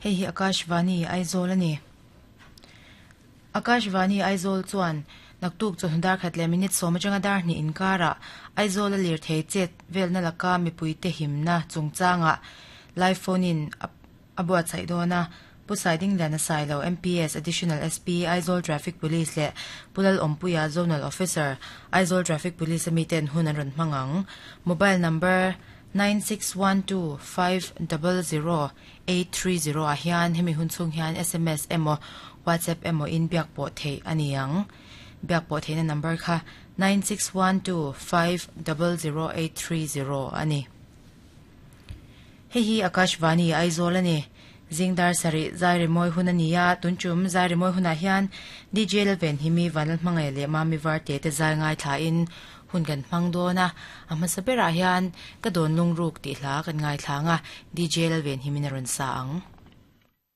Hei hi Akashvani Aizawl a ni. Akashvani Aizawl chuan naktuk chawhnu dar khat leh minute sawm atanga dar hnih inkarah Aizawl a lirthei chet velna laka mipuite himna chungchangah live phone in a buatsaih dawn a. Pu Saidingliana Sailo, MPS, Additional SP, Aizawl Traffic Police leh Pu Lalawmpuia, Zonal Officer, Aizawl Traffic Police a miten hun an rawn hmang ang. Mobile number, 9612500830 ah hian hemi hun chhung hian sms emaw WhatsApp emaw in biak pawh theih a ni ang. Biak pawh theihna number kha 9612500830 a ni. Hei hi Akashvani Aizawl a ni. Zingdar sarih zai rimawi hun a ni a, tun tum zai rimawi hunah hian DJ Lalvenhimi, Vanlalhmangaih leh Mami Varte te zai ngaithlain hun kan hmang dawn a, a hmasa berah hian ka dawn lungruk tih hla kan ngaithla ang a, DJ Lalvenhimin a rawn sa ang.